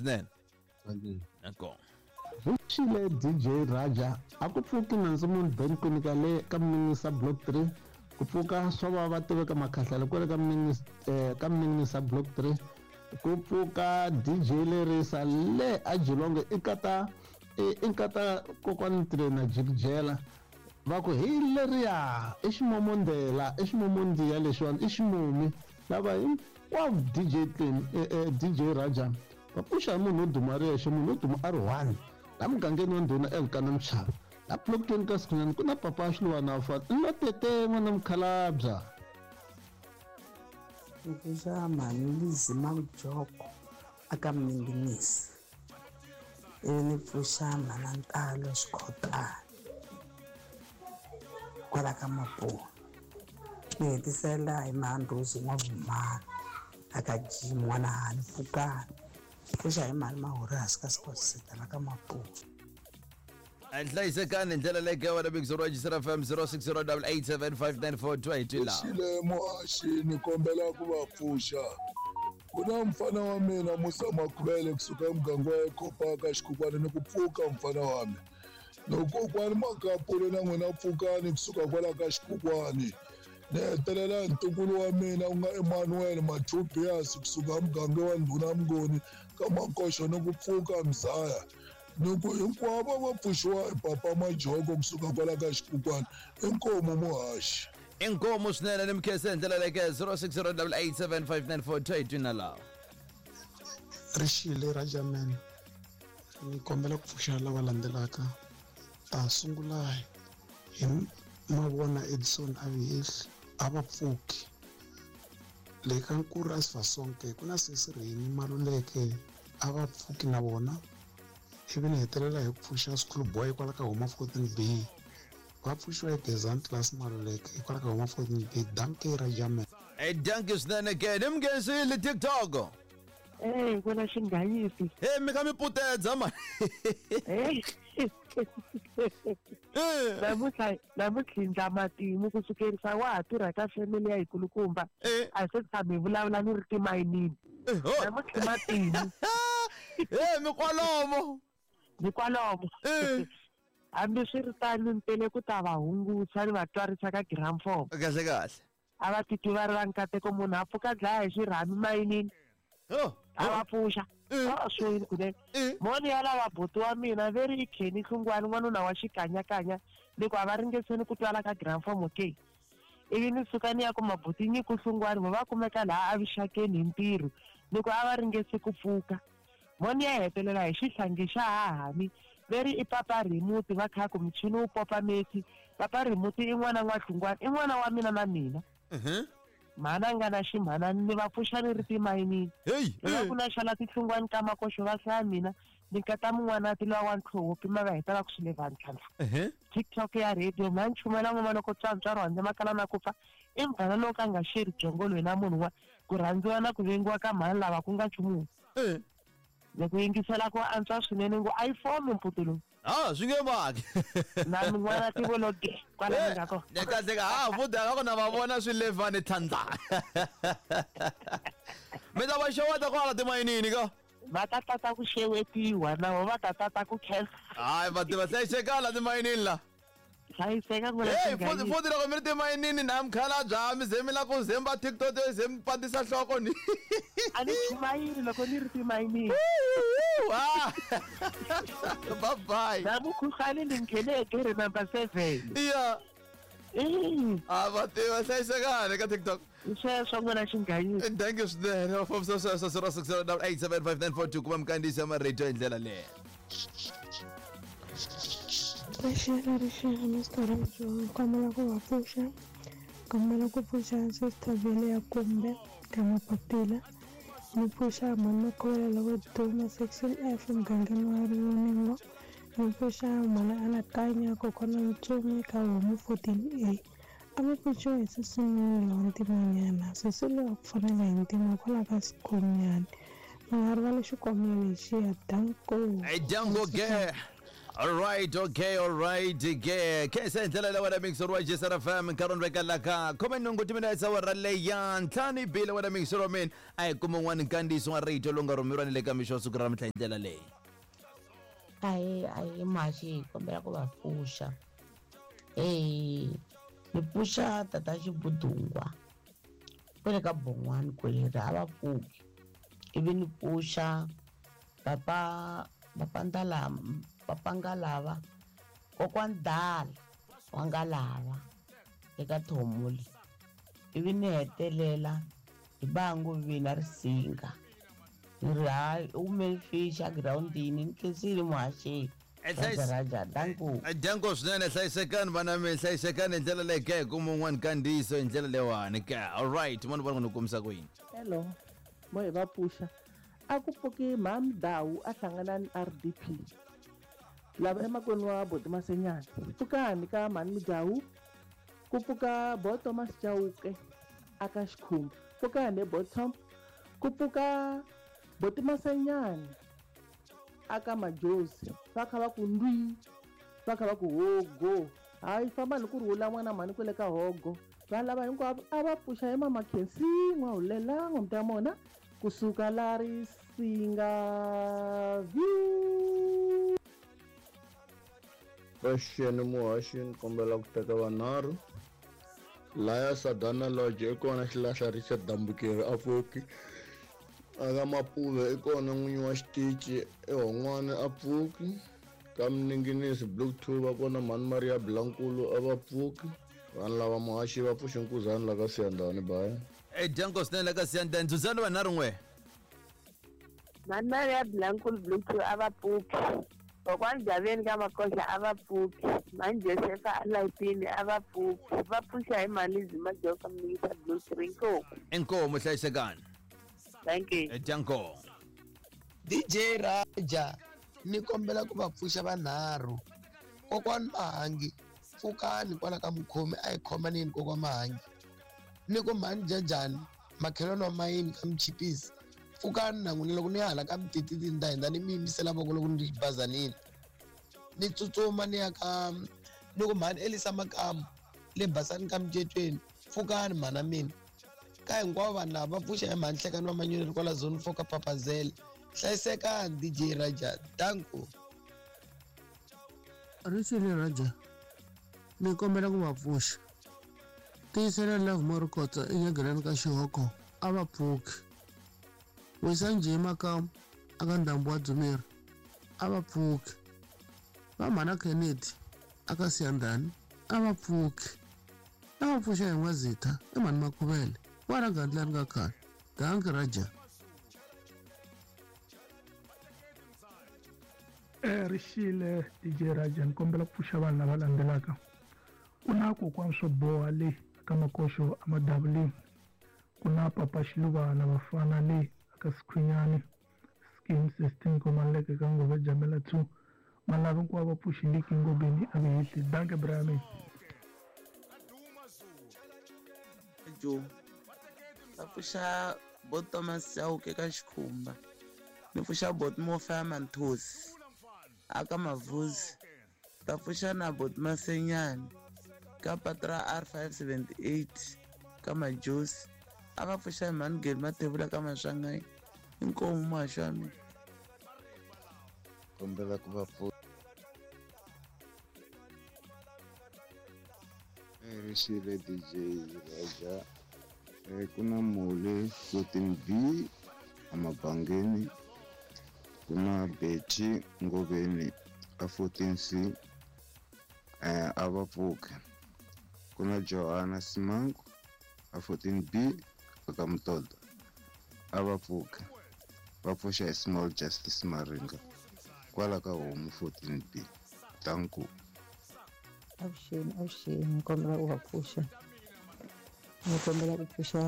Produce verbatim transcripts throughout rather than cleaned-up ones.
Swinene. Nko. Vuxile D J Raja a ku pfuki nandzu munhu Ben Kwinika le ka Minisa Block three ku pfuka swo va va tiveka makhahlelo kwale ka Minisa eh, ka Minisa Block three ku pfuka D J Lerisa le a Jilonge i kata i kata kokwani trainer jikijela va ku hi leriya i ximomondela i ximomondiya lexiwani i ximomi lava hinkwavo D J Clean D J Raja va pfuxa munhu wo duma ri yexe munhu wo duma a ri one la mugangeni wa ndhuna Elkana Mchava la Block twenty ka Sikhunyani ku na papa Xiluwana fa no tete n'wana mukhalabya ni pfuxa mhani Lizzy Majoko aka Minginisi ivi ni pfuxa mhana Ntalo Xikhotana kwala ka Maponi ni hetisela hi Mhandhuzi N'wavumana aka Jim n'wana Hani Pfukani pfuxa hi mhani Mahurasi ka Sports Center la ka Maponi. Hlayisekani ndlela leyi ka wena Big Zero Register F M zero six zero eight eight seven five nine four two eight la. Xile muhaxi ni kombela ku va pfuxa. Ku na mfana wa mina Musa Makhuvele kusuka emuganga wa Ekopaka Xikhukhwana ni ku pfuka mfana wa mina. Loko kokwani Makapule na n'wina pfukani kusuka kwala ka Xikhukhwani. Ni hetelela ntukulu wa mina ku nga Emmanuel Mathubias kusuka muganga wa Ndhuna Mnguni ka Makoxo ni ku pfuka Mzaya. Ni ku hinkwavo va pfuxiwa hi Papa Majoko kusuka kwala ka Xikhukhwana inkomu muhaxi. Inkomu swinene ni mkhese ndlela leyi ka zero six zero eight eight seven five nine four two eight na lawa. Rixile Rajaman ni kombela ku pfuxa lava landzelaka ta sungula hi Mavona Edison Avihehli a va pfuki le ka Nkuru Asifasonke ku na sesi Rheni Maluleke a va pfuki na vona ivi ni hetelela hi ku pfuxa School Boy kwala ka Homa fourteen B va pfuxiwa hi Gezani Class Maluleke hikwalaho ka Homa fourteen B. Dankie Rajaman. Eh dankie swinene ke ni mngensile TikTok. Eh kwena xinganyisi. Eh mi kha mi putedza mani. Eh. Namuntlha namuntlha ndla matimu ku sukerisa wa ha tirha ka family ya hikulukumba a se tshami vulavula ni ri timayinini. Namuntlha matimu. Eh mi kwalomo. Mi kwalomo. Eh. Hambi swi ri tano ni tele ku ta va hungusa ni va twarisa ka gramphone. Kahle kahle. A va titwi va ri va nkateko munhu a pfuka dlaya hi xirhami mayinini. Oh. A va pfuxa. A swi yini kunene. Moni ya lava buti wa mina ve ri i Kenny Hlungwani n'wanuna wa xikanyakanya ni ku a va ringeseni ku twala ka gramphone okay. Ivi ni suka ni ya ku mabuti Nyiko Hlungwani vo va kumeka laha avuxakeni hi ntirho ni ku a va ringese ku pfuka. Moni ya hetelela hi xihlangi xa hahani ve ri i Papa Rimuti va kha ku michini wu popa meti. Papa Rimuti i n'wana n'wa Hlungwani i n'wana wa mina na mina. Mhana nga na ximhanani ni va pfuxa ni ri timayinini. Va ku na xala tihlungwani ka Makoxo va hlaya mina ni kata mun'wana ti lowa wa ntlhoho pima va heta va ku swi le vanhu ntlhantlha. TikTok ya radio mha nchumela n'wana loko tswantswaro handle makala na ku pfa i mfana lowu ka nga xeri byongo loyi na munhu wa ku rhandziwa na ku vengiwa ka mhani lava ku nga nchumu. Ni ku yingisela ku antswa swinene ngo iPhone mputi lowu. Ah swi nge maki. Na min'wana tivologe kwala ni nga kona. Ne kahle ka ha futhi akho na va vona swi levani thandla. Mi ta va xeweta kwala timayinini ka. Va ta tata ku xewetiwa na vo va ta tata ku khensa. Hayi va tiva hlayisekala timayinini la. Hlayiseka ku Hey futhi futhi loko mi ri timayinini na mukhalabya mi ze mi la ku zemba TikTok ze mi pandisa nhloko ni. A ni chumayeli loko ni ri timayinini. Ah. Bye bye. Na mukhuhlani ni nghene egere number seven. Yeah. Eh. Ah va tiva hlayisekani ka TikTok. Sweswo n'wana xinganyisi. Thank you swinene. Four zero six zero eight seven five nine four two kuma mkandziyisi ya marito hi ndlela leyi. Rixile rixile Mister Rajo kombela ku va pfuxa kombela ku pfuxa Sister Vele ya kumbe ka Mapapila ni pfuxa mhani Makhuvela loko duma section F mugangeni wa Rivoningo ni pfuxa mhani Anakanya kokwana Ntsumi ka Homu fourteen A a mi pfuxiwa hi sesi wa ntimanyana sesi loyi a ku fanela hi ntima kwalaho ka Sikhunyani mi nga rivali xikwama lexiya danko. Hey danko ge. Alright, okay, alright, ke khensa hi ndlela leyi wena mixer wa J S R F M nkarhi veka la ka khume nhungu timinetse awara leyi ya ntlhanu yi bile wena mixer wa mina a hi kuma un'wana nkandziyiso wa rito lowu nga rhumeriwa ni le ka mixo wa siku ra namuntlha hi ndlela leyi. Ahi ahi muhaxi hi kombela ku va pfuxa. Eh, ni pfuxa tata Xibudungwa kwale ka Bon'wani kwele a va pfuki. Ivi ni pfuxa papa papa Ndalama papa Ngalava kokwani Dala wa Ngalava eka Thomole. Ivi ni hetelela hi bangu vina Risinga. Ni ri hayi u hume fish egirawundini ni khensile muhaxi. Raja danko. Danko swinene hlayisekani vana mi hlayisekani hi ndlela leyi ke kuma un'wana nkandziyiso hi ndlela leyiwani ke. Alright, mani vona ku ni kumisa ku yini. Hello, mo hi va pfuxa. A ku pfuki Mham Dawu a hlangana ni R D P. Lava emakwenu wa Boti Masenyana. Pfukani ka Mhani Midawu. Ku pfuka Bo Thomas Chauke aka Xikhumba. Pfukani Bo Tom. Ku pfuka Boti Masenyana aka Majozi. Va kha va ku ndwi. Va kha va ku hogo. Hayi famba ni ku rhula n'wana mhani kwele ka hogo. Va lava hinkwavo a va pfuxa hi Mama Khensi n'wahulela n'wamta mona kusuka la Risinga view. Paxeni muhaxi ni kombela ku teka vanharhu laya Sadana Lodge i kona xilahla Richard Dambukeri a pfuki aka Mapuve i kona n'winyi wa xitichi eHon'wana a pfuki ka Mninginisi Block two va kona Mhani Maria Blankulu a va pfuki vanhu lava muhaxi va pfuxi nkuzani la ka Siyandhani baya. E Janko swinene la ka Siyandhani ndzuzani vanharhu n'we. Mhani Maria Blankulu Block two a va pfuki. Kokwani Javeni ka Makohla a va pfuki. Mhani Josefa a Layitini a va pfuki. Va pfuxa hi Mhani Zima Joka Mningisa Blue three. Inkomu. Inkomu hlayisekani. Thank you. Janko. D J Raja ni kombela ku va pfuxa vanharhu. Kokwani Mahangi pfukani kwala ka mukhomi a hi khomaneni kokwani Mahangi. Ni ku Mhani Jajani makhelwani wa mayini ka Mchipisi. Pfukani na n'wina loko ni ya hala ka Mtititi ni ta hundza ni mi yimisela voko loko ni ri xibazanini. Ni tsutsuma ni ya ka ni ku Mhani Elisa Makamu le Basani ka Mcetweni pfukani mhana mina. Ka hinkwavo vanhu lava va pfuxa hi Mhani Hlekani wa Manyoni kwala zone four ka Papazela. Hlayisekani D J Raja danko. Rixile Raja ni kombela ku va pfuxa. Tiyisela Love Morikotsa enyageleni ka Xihoko a va pfuki. Wisa Njhe Makamu aka Ndhambu wa Dzumeri a va pfuki. Va Mhana Kennedy aka Siyandhani a va pfuki. A va pfuxa hi N'wazitha i Mhani Makhuvele wa Gandlani ka khale. Danki Raja. Eh Rixile D J Raja ni kombela ku pfuxa vanhu lava landzelaka. Ku na kokwani swo boha le aka Makoxo a Madavuleni. Ku na papa Xiluvana vafana le aka Sikhwinyani scheme sixteen komaleke ka Ngove Jamela two. Malava hinkwavo va pfuxi Liki Ngobeni a vehehli. Danke Brian. Jo va pfuxa Bo Thomas Chauke ka Xikhumba. Ni pfuxa Bot Mofa Manthosi aka Mavuzi. Ta pfuxa na Bot Masenyani ka patra R five seventy-eight ka Majosi. A va pfuxa hi Mhani Geli Mathebula ka Maswanganyi. Inkomu muhaxi wa mina. Kombela ku va pfuxa. Rixile D J Raja ku na Mole fourteen B amabangeni ku na Betty Ngoveni a fourteen C a va pfuki. Ku na Johanna Simangu a fourteen B aka Mutoda a va pfuki. Va pfuxa hi Small Justice Maringa kwala ka Homu fourteen B. Danko. Avuxeni avuxeni ni kombela ku va pfuxa. Ni kombela ku pfuxa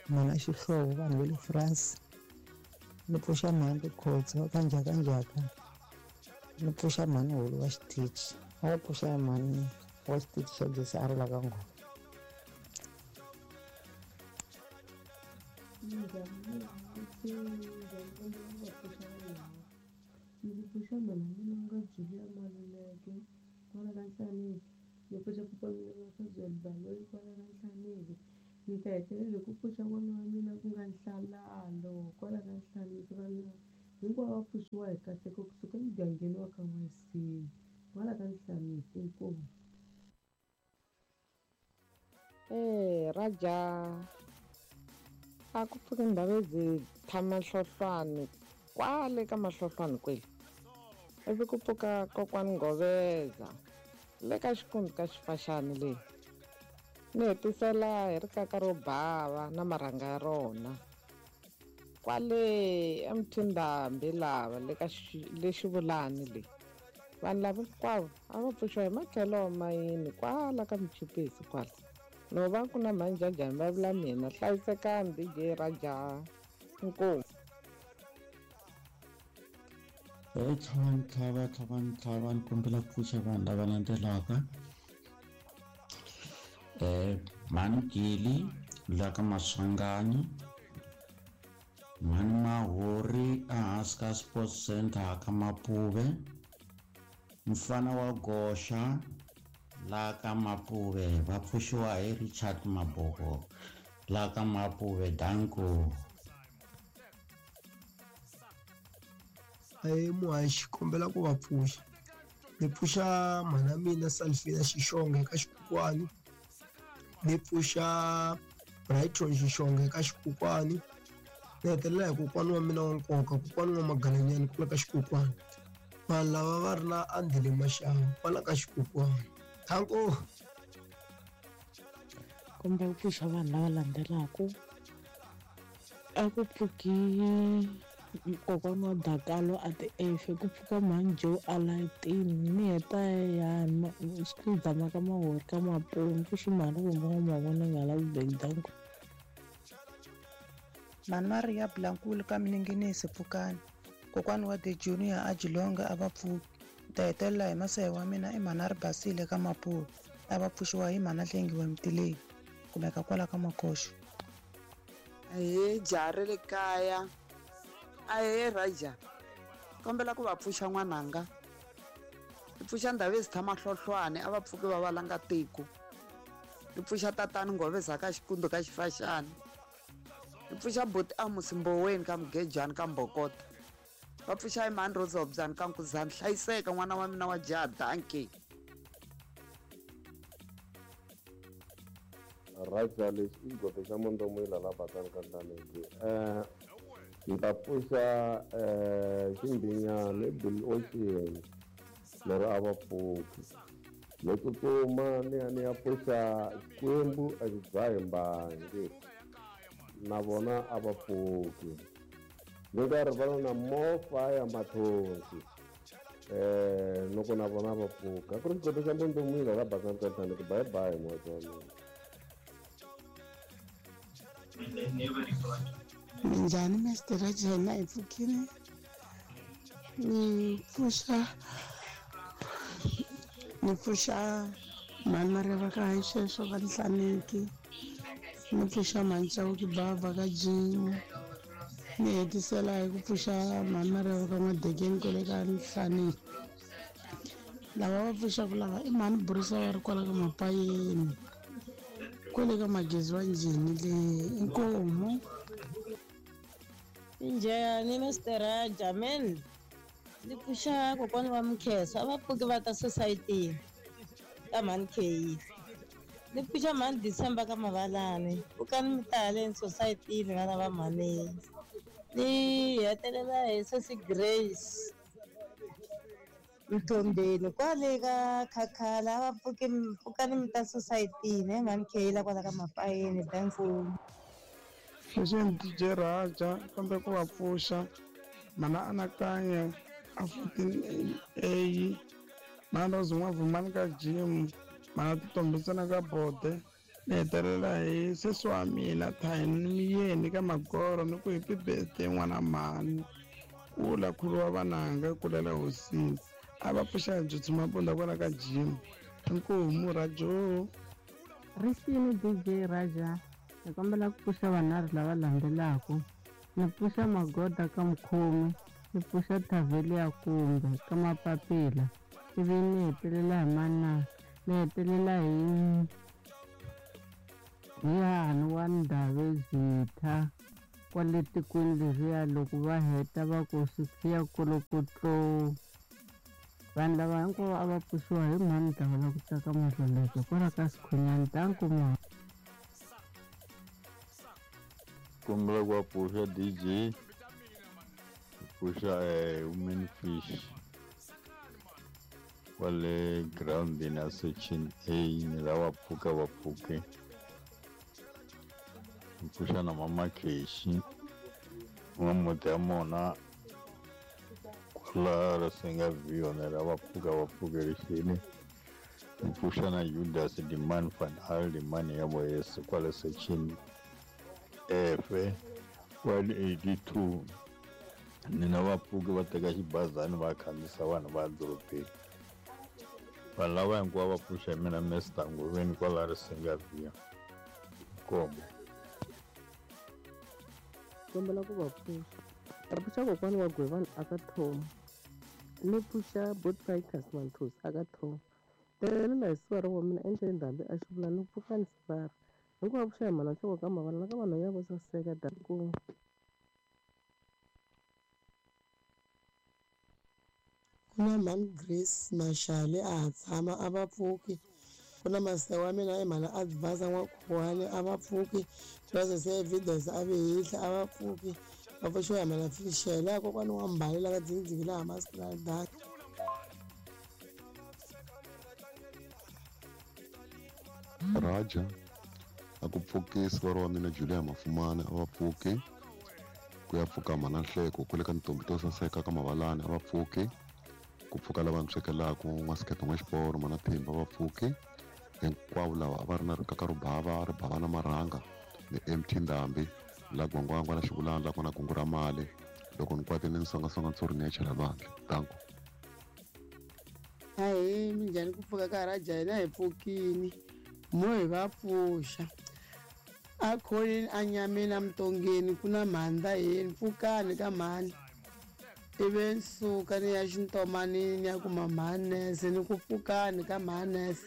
mhana Xihlovo vanhu va le France. Ni pfuxa mhani Rikhotso ka Njhakanjhaka. Ni pfuxa mhani Hulu wa xitichi. A va pfuxa mhani wa xitichi xa J S R la ka Ngoma. Ndzi pfuxa mhani mina nga Julia Maluleke kwala ka Nhlaneki. Ni pfuxa kokwana wa Fazwell Baloyi kwala ka Nhlaneki. Ni ta hetelela hi ku pfuxa n'wana wa mina ku nga Nhlalalo kwala ka Nhlaneki. Vanhu lava hinkwavo va pfuxiwa hi nkateko kusuka emugangeni wa ka N'wansini kwala ka Nhlaneki. Inkomu. Ee Raja, a ku pfuki Ndhavezini tshama Hlohlwani kwale ka Mahlohlwani kwele, ivi ku pfuka kokwani Ngoveza le ka xikundzu ka Xifaxani leyi. Ni hetisela hi rikaka ro bava na marhanga ya rona kwale eMthindambi lava le ka le Xivulani leyi. Vanhu lava hinkwavo a va pfuxiwa hi matlhelo mayini kwala ka Muchipisi kwala. No va ku na manjajani va vula mina. Hlayisekani D J Raja. Inkomu. Hey, tlhavani tlhava tlhavani tlhava ni kombela ku pfuxa vanhu lava landzelaka. Eh, Mhani Gili la ka Maswanganyi, Mhani Mahori ehansi ka Sports Center ka Mapuve, mfana wa Goxa la ka Mapuve va pfuxiwa hi Richard Maboko la ka Mapuve. Danko. Ahee muhaxi, kombela ku va pfuxa. Ni pfuxa mhana mina Salfina Xixonge ka Xikukwani, ni pfuxa Brighton Xixonge ka Xikukwani, ni hetelela hi kokwana wa mina wa nkoka, kokwana wa Magalanyani kwala ka Xikukwani. Vanhu lava va ri na Andile Maxava kwala ka Xikukwani. Thanko. Kombela ku pfuxa vanhu lava landzelaka. A ku pfuki kokwana wa Dakalo a ti efe, ku pfuka mhani Joe a layitini. Ni heta ya Xikudama ka Mahori ka Mapuve, pfuxi mhani kumbe mavona nga lavi bank. Danko. Mhani Maria Blankulu ka Mininginisi pfukani. Kokwana wa The Junior a Jilonga a va pfuki. Ta hetelela hi masehe wa mina i mhani a ri basile ka Mapuve, a va pfuxiwa hi mhani Hlengiwe Mtileni kumeka kwala ka Makoxo. Ahee jaha ra le kaya, ahee Raja, kombela ku va pfuxa n'wananga. Ni pfuxa Ndhavezini Mahlohlwani a va pfuki va valanga tiko. Ni pfuxa tatani Ngoveza ka Xikundu ka Xifaxani. Ni pfuxa buti Amos Mboweni ka Mugejani ka Mbokota. Va pfuxa hi mhani Rosa ka Nkuzani. Hlayiseka n'wana wa mina wa jaha. Danke. Raja, lexi i xigodo xa Mondomila la Bakani ka Nhlaneki. Eh, ni ta pfuxa eh Ximbinyana i Bill Ocean lero a va pfuki. Ni tsutsuma ni ya ni ya pfuxa Xikwembu a xi dzahi mbangi na vona a va pfuki. Ni nga rivala na More Fire Mathonsi eh loko na vona va pfuka. A ku ri xigodo xa Mondomila la Bakani ka Nhlaneki. Bye bye n'wana wa mina. Minjhani Mister Raja, hina hi pfukile. Ni pfuxa ni pfuxa mhani Mareva ka Haxexo ka Nhlaneki, ni pfuxa mhani Chauke Bava ka Jimu, ni hetisela hi ku pfuxa mhani Mareva ka N'wadekeni kwale ka Nhlaneki. Lava va pfuxaka lava i mhani Burisa va ri kwala ka Mapayeni kwale ka Magezi wa Njhini le. Inkomu. Njhani Mister Raja, men ni pfuxa kokwana wa Mkheso a va pfuki va ta society ka mhani Kheyi. Ni pfuxa mhani December ka Mavalani, pfukani mi ta haleni society vana va mhani. Ni hetelela hi sesi Grace Mthombeni kwale ka Khakhala, a va pfuki pfukani mi ta society ne mhani Kheyi la kwala ka Mapayeni. Danko. Lexi D J Raja, kambe ku va pfuxa mhana Anakanya a fourteen A, mhana Rose N'wavumani ka Jim, mhana Titombisana ka Bode. Ni hetelela hi sesi wa mina Thayini Miyeni ka Magoro, ni ku happy birthday n'wana mhani. Kula khulu wa vananga kulela hosini. A va pfuxa hi Dzudzu Mabunda kwala ka Jim. Inkomu Rajo. Rixini D J Raja, ni kombela ku pfuxa vanharhu lava landzelaka. Ni pfuxa Magoda ka Mukhomi, Ni pfuxa Thavelia kumbe ka Mapapila ivi ni hetelela hi mana ni hetelela hi hi Hani wa Ndhavezitha kwale tikweni leriya loko va heta va ku swi siya kolokotlo. Vanhu lava hinkwavo a va pfuxiwa hi mhani Dlawula ku tsaka Madloleke kwala ka Sikhunyani. Danko ma kombela ku va pfuxa D J pfuxa eh, Women Fish kwale groundini ya section A ni lava pfuka va pfuke. Pfuxa na mama Keshi n'wamuti ya mona kwala Risenga View ni lava pfuka va pfuke rixini. Pfuxa na Judas Dimani van Al Dimani ya Boyese kwale section F one eighty-two ni na vapfuki va teka xibazana va khandziyisa vanhu va dorobeni. Vanhu lava hinkwavo va pfuxa hi mina Mister Ngoveni kwala Risenga View. Nkomo. Kombela ku va pfuxa. Va pfuxa kokwana wa Gwevani aka Thoma. Ni pfuxa Bot Fighters Manthosi aka Thoma. Telela hi sivara wa mina endleni ndhambi a xi vula ni pfuka ni sivara. Hinkwavo pfuxa hi mhana nhloko ka mavala na ka vanhu ya vo saseka danko. Ku na mhani Grace Mashale a ha tshama a va pfuki. Ku na masewa wa mina i mhana Advance N'wakhuwani a va pfuki. Process ya evidence a vehihla a va pfuki. Va pfuxiwa hi mhana Fishela kokwani wa Mbali la ka Dzingidziki laha Masipala Dark. Raja a ku pfukisi va ri wa mina Julia Mafumane a va pfuki. Ku ya pfuka mhana Nhleko kwale ka ntombi to saseka ka Mavalani a va pfuki. Ku pfuka lava ni swekelaku n'wasikete n'wa xiporo mhana Themba va pfuki. Hinkwavo lava a va ri na rikaka ro bava ri bava na marhanga ni M T Ndhambi la Gwangwangwa la Xivulana la kona kungu ra mali loko ni kwatile ni songasonga ntshuri ni ya chela lwandle. Danko. Ahee, minjhani ku pfuka ka Raja hina hi pfukini mo hi va pfuxa a kholeni a nyameni a mutongeni ku na mhandza yeni pfukani ka mhani ivi ni suka ni ya xintomanini ni ya kuma mhanese ni ku pfukani ka mhanese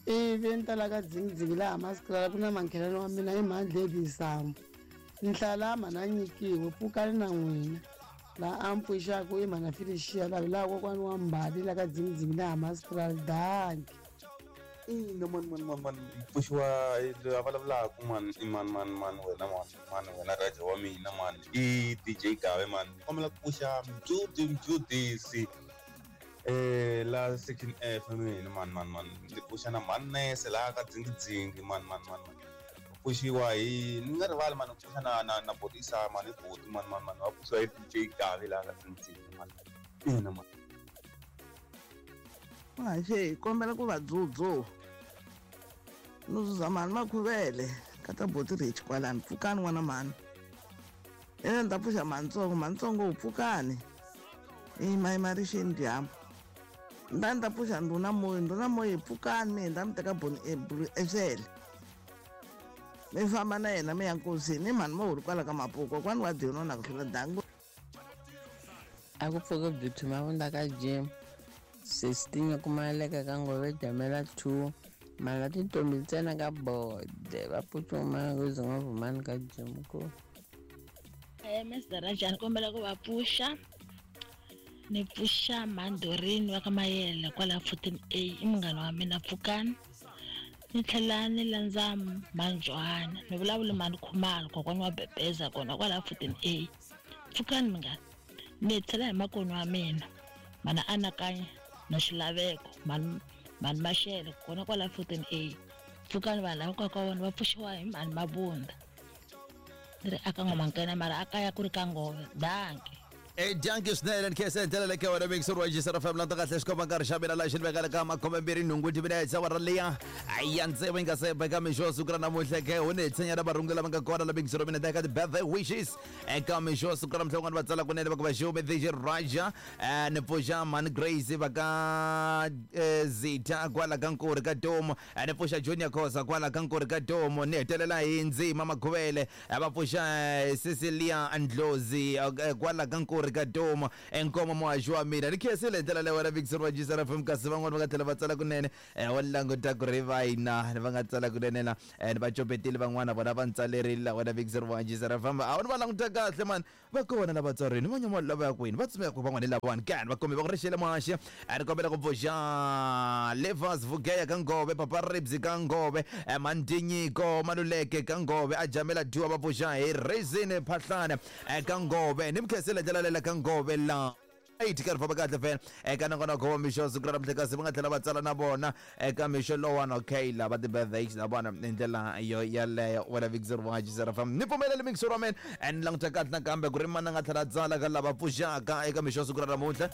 ivi ni ta la ka Dzingidziki laha Masipala ku na mankhelani wa mina i mhani Dlebisambo Nhlalama na nyikiwe pfukani na n'wina laha a mi pfuxaka i mhana Felicia lavi laha kokwani wa Mbali la ka Dzingidziki laha Masipala danki. Ina mani mani mani mani pfuxiwa loyi a vulavulaka mani i mani mani mani wena mani mani wena Raja wa mina mani i D J Gawe mani kombela ku pfuxa Mjudi Mjudisi eh la section F mina mani mani mani ndzi pfuxa na mhani Nese laha ka Dzingidzinghi mani mani mani mani pfuxiwa hi ni nga rivali mani ku pfuxa na na na Botisa mani Boti mani mani mani va pfuxiwa hi D J Gawe laha ka Dzingidzinghi mani ina mani. Haxe kombela ku va dzudzu no zuza mhani Makhuvele ka ta Boti Rich kwalani pfukani n'wana mhani ene ni ta pfuxa mhanitsongo mhanitsongo wu pfukani i mayimarixeni dyambu nda ni ta pfuxa ndhuna moyi ndhuna moyi pfukani mi hindza mi teka boni exele mi famba na yena mi ya nkosini i mhani mo huri kwala ka Mapuku kokwani wa Dino na ku hlula dangu. A ku pfuki Beauty Mavunda ka gym sixteen ku maleka ka Ngove Jamela two mala tintombi ntsena ka bode va pfuxuma ku ze nga ka gym ku. Eh Mister Raja ni kombela ku va pfuxa ni pfuxa Mandorini wa ka Mayele kwala fourteen A i munghana wa mina pfukani ni tlhela ni landza Manjwana ni vulavula mhani Khumalo kokwani wa Bebeza kona kwala fourteen A pfukani munghana ni tlhela hi makoni wa mina mana anakanya na xilaveko mhani mhani Mashele kona kwala fourteen A pfukani vanhu lava ka vona va pfuxiwa hi mhani Mabunda ni ri aka N'wamankwena mara a kaya ku ri ka Ngove danki. E danki swinene ni khensa hi ndlela leyi wena mixer wa Jisara F M landa kahle xikomba nkarhi xa mina laha xi ni vekaka ka makhome mbirhi nhungu timinetse awara liya ya ntsevu yi nga se beka mixo wa siku ra namuntlha ke hu ni hi tshinya na varungu lava nga kona la mixer wa mina eka ti-birthday wishes eka mixo wa siku ra namuntlha van'wana va tsala kunene va ku va xume D J Raja ni pfuxa mhani Grace va ka Zita kwala ka Nkuri ka Domo ni pfuxa Junior Khosa kwala ka Nkuri ka Domo ni hetelela hi Ndzima Makhuvele va pfuxa Cecilia Ndlozi kwala ka Nkuri. Pitori ka Doma enkoma muhaxi wa mina ni khensile hi ndlela leyi wena Victor wa G S R F M kasi van'wani va nga tlhela va tsala kunene eh, wa languta ku ri vayina va nga tsala kunene la eh, va copetile van'wana vona va ntsalerile la wena Victor wa G S R F M a wu ni va languta kahle mani va kona lava tsarini va nyama lava ya kwini va tsumeka ku van'wana lavawani kani va kombe va ku rixele muhaxi a ri kombela ku pfuxa Levas Vugeya ka Ngove Papa Ribs ka Ngove eh, Mandinyiko Maluleke ka Ngove a Jamela Dua va pfuxa hi Reason Phahlane eh, ka Ngove ni mi khensile ndlela lela ka Ngove la eight ka ri famba kahle fela eka nongonoko wa mixo siku ra namuntlha kasi va nga tlhela va tsala na vona eka mixo lowani okay lava ti-birthdays na vona hi ndlela yo yaleyo wena Victor wa G S R F M ni pfumeleli mixo wa mina and languta kahle nakambe ku ri mani a nga tlhela a tsala ka lava pfuxaka eka mixo siku ra namuntlha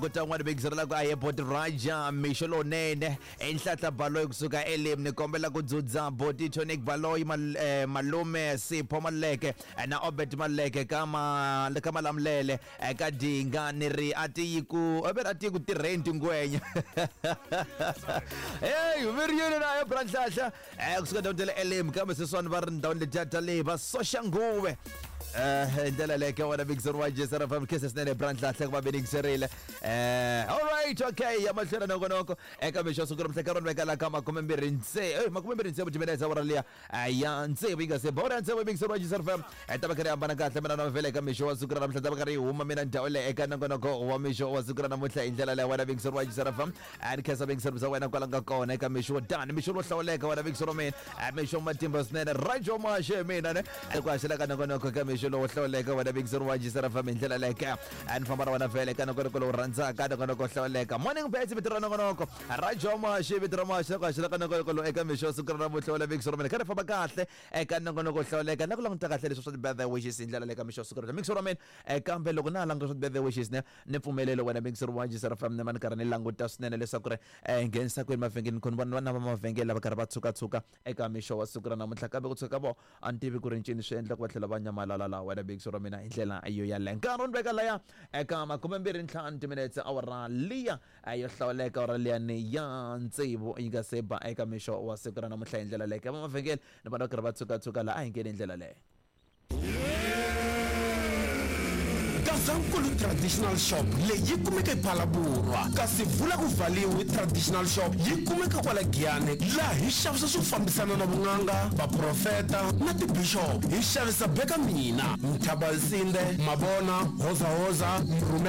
ku ta un'wana bigizero la ku a boti Raja mixo lowunene enhlanhla Baloyi kusuka elim ni kombela ku dzudza boti Tonic Baloyi malume Sipho Maluleke na Obert Maluleke ka ma ka Malamulele ka Dinga ni ri a ti yi ku a ti yi ku tirheni tingwenya hey vi ri yini na bra Nhlahla kusuka ndhawini ta le elim kambe sweswiwani va ri ndhawini letiya ta le va Soshanguve eh ndlela leyo ka wena Victor wa G S R F M khensa swinene bra Nhlahla ku va venikiserile eh all right okay ya mahlweni nongonoko eka mixo siku ra namuntlha ka rona veka la ka makume mbirhi ntsevu eh makume mbirhi ntsevu timinetse awara liya ya ntsevu yi nga se ba ya ntsevu Victor wa G S R F M ta va karhi hambana kahle mina na vhele eka mixo wa siku ra namuntlha ta va karhi huma mina ndhawu leyi eka nongonoko wa mixo wa siku ra namuntlha hi ndlela leyo wena Victor wa G S R F M a ni khensa Victor bya wena kwala nga kona eka mixo wa dani mixo lowo hlawuleka wena Victor wa mina mixo matimba swinene Rajo Mashe mina ne ku haxela ka nongonoko eka mixo lowo hlawuleka wena Victor wa G S R F M hi ndlela leyo a ni famba na wena vhele eka nongonoko lowu rhandzaka nongonoko hlawuleka morning bets vito ra nongonoko Rajo Mashe vito ra Mashe ku haxela ka nongonoko lowu eka mixo siku ra namuntlha wena Victor wa mina kha ri famba kahle eka nongonoko hlawuleka na ku languta kahle leswi swa ti-birthday wishes hi ndlela leyo ka mixo siku ra Victor wa mina kambe loko na ha languta swa ti-birthday wishes ne ni pfumelelo wena Victor wa G S R F M ne ma ni karhi ni languta swinene leswaku ri nghenisa kwini mavhengeleni khoni vona vana va mavhengele lava karhi va tshukatshuka eka mixo wa siku ra namuntlha kambe ku tshuka ka vona a ni tivi ku ri ncini swi endla ku va tlhela va nyamalala laha wena Victor wa mina hi ndlela yo yaleyo nkarhi wu ni veka laya eka makume mbirhi ntlhanu timinetse awara liya yo hlawuleka awara liyani ya tsevu yi nga se ba eka mixo wa siku ra namuntlha hi ndlela leyo ka va mavhengele ni vona va karhi va tshukatshuka laha a hi ngheni hi ndlela leyo. Gazankulu Traditional Shop leyi yi kumeka ePhalaborwa kasi vula ku valiwe Traditional Shop yi kumeka kwala Giyani laha hi xavisa swo fambisana na vun'anga vaprofeta na tibishop hi xavisa beka mina Mthabansinde Mabona Hoza Hoza Mrhume.